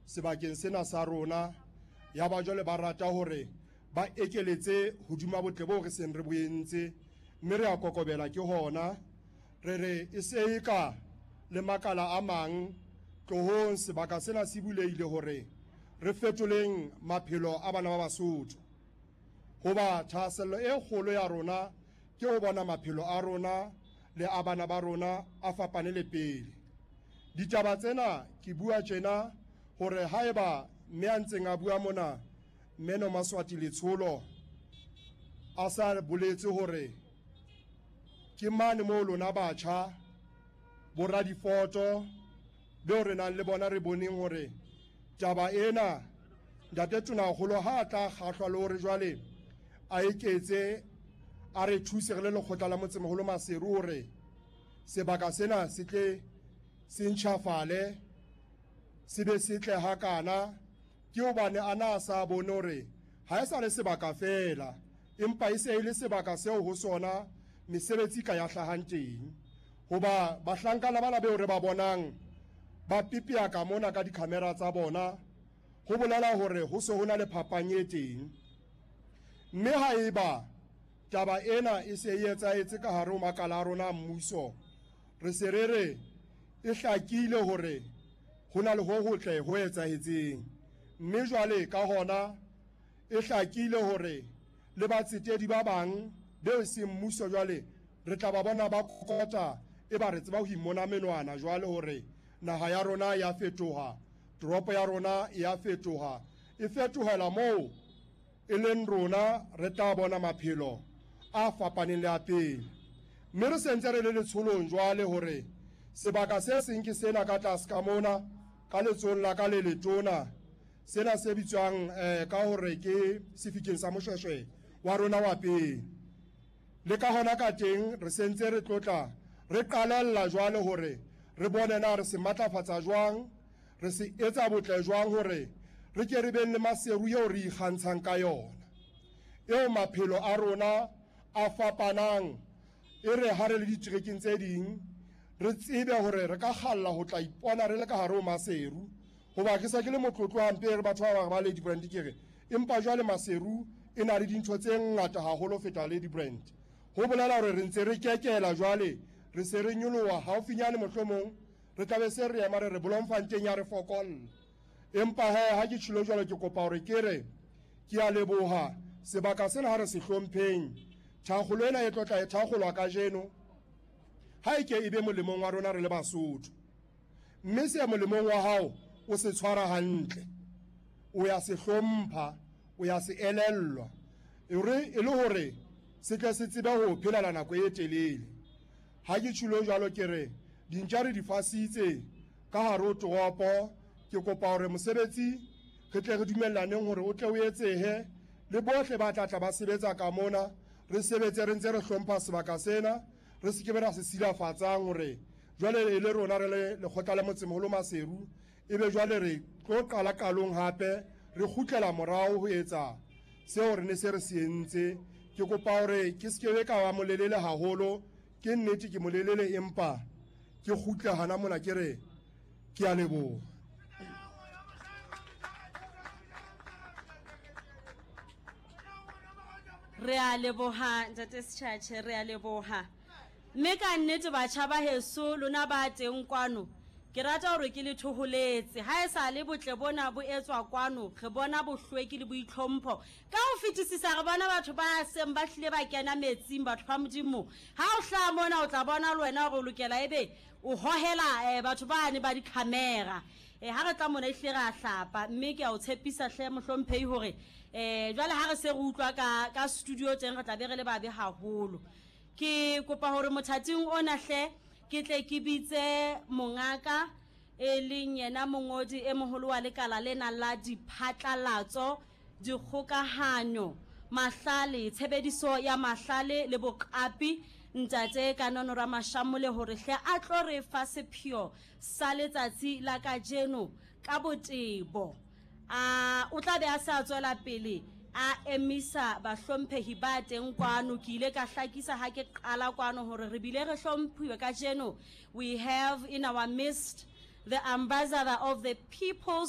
sebakeng sena sa rona. Ya ba jwale ba rata hore ba ekeletse hodima botle boo re seng re bo entse, mme re a kokobela ke hona. Re re e se e ka le makala a mang tlohong, sebaka sena se bulehile hore re fetoleng maphelo a bana ba Basotho. Hoba thahasello e kgolo ya rona ke ho bona maphelo a rona le a bana ba rona a fapane le pele. Ditaba tsena ke bua tjena hore haeba mme a ntseng a bua mona, mme Nomaswati Letsholo, a sa boletse hore ke mane moo lona batjha boradifoto beo re nang le bona re boneng hore taba ena ntate Tonakgolo ha a tla kgahlwa le hore jwale a eketse a re thuse re le lekgotla la motsemoholo Maseru hore sebaka sena se tle se ntjhafale se be setle hakana, ke hobane a na sa bone hore ha e sa le sebaka feela, empa e se e le sebaka seo ho sona mesebetsi ka ya hlahang teng. Hoba bahlankana bana beo re ba bonang ba pipia ka mona ka dikhamera tsa bona, ho bolela hore ho se ho na le phapang e teng. Mme haeba taba ena e se e etsahetse ka hare ho makala a rona a mmuso, re se re re e hlakile hore ho na le ho hotle ho etsahetseng. Mme jwale ka hona e hlakile hore le batsetedi ba bang beo e seng mmuso jwale re tla ba bona ba kokota, e ba re tseba ho imona menwana jwale hore naha ya rona ya fetoha, toropo ya rona ya fetoha, e fetohela moo e leng rona re tla bona maphelo a fapaneng le a pele. Mme re sentse re le letsholong jwale hore sebaka se seng ke sena ka tlase ka mona ka letsohong la ka le letona, sena se bitswang ka hore ke sefikeng sa Moshweshwe wa rona wa pele. Le ka hona ka teng re sentse re tlotla re qalella jwale hore re bone na re se matlafatsa jwang, re se etsa botle jwang hore re ke re beng le Maseru eo re ikgantshang ka yona, eo maphelo a rona a fapanang. E re ha re le diterekeng tse ding re tsebe hore re ka kgalla ho tla ipona re le ka hare ho Maseru. Hoba ke sa ke le motlotlo hampe re batho ba bang ba Ladybrand, ke re empa jwale Maseru e na le dintho tse ngata haholo ho feta Ladybrand. Ho bolela hore re ntse re kekela jwale, re se re nyoloha haufinyane, mohlomong re tla be se re ema re re Bloemfontein ya re fokolla. Empa he ha ke tjhilo jwalo, ke kopa hore ke re ke a leboha sebaka sena ha re se hlompheng. Thakgolo ena e tlotla e thakgolwa kajeno, ha e ke e be molemong wa rona re le Basotho. Mme se molemong wa hao o se tshwara hantle, o ya se hlompha, o ya se elellwa, e le hore se tle se tsebe ho phelela nako e telele. Ha ke tjhilo jwalo, ke re dintja re di fasitse ka hare ho toropo. Ke kopa hore mosebetsi re tle re dumellaneng hore o tle o etsehe, le bohle ba tla tla ba sebetsa ka mona re sebetse re ntse re hlompha sebaka sena, re se ke be ra se silafatsang hore jwale e le rona re le lekgotla la motsemoholo Maseru, ebe jwale re tlo qala qalong hape re kgutlela morao ho etsa seo re ne se re se entse. Ke kopa hore ke se ke be ka ba molelele haholo, ke nnete ke molelele, empa ke kgutle hana mona ke re ke a leboha. Re a leboha ntate Setjhatjhe, re a leboha. Mme ka nnete batjha ba heso lona ba teng kwano, ke rata hore ke le thoholetse. Ha e sa le botle bona bo etswa kwano, re bona bohlweki le boitlhompho ka ho fetisisa. Re bona batho ba seng ba hlile ba kena metsing, batho ba Modimo. Ha o hlaha mona o tla bona le wena hore o lokela ebe o hohela batho bane ba dikhamera. Ha re tla mona ehlile re a hlapa, mme ke a o tshepisa hle mohlomphehi hore jwale ha re se re utlwa ka studio teng re tla be re le babe haholo. Ke kopa hore mothating ona hle ke tle ke bitse mongaka e leng yena mongodi e moholo wa lekala lena la diphatlalatso, dikgokahanyo, mahlale, tshebediso ya mahlale le boqapi, ntate Kanono Ramashamole, hore hle a tlo re fa sepheo sa letsatsi la kajeno ka botebo. A o tla be a se a tswela pele a emisa bahlomphehi ba teng kwano. Ke ile ka hlakisa ha ke qala kwano hore re bile re hlomphiwe kajeno. We have in our midst the ambassador of the People's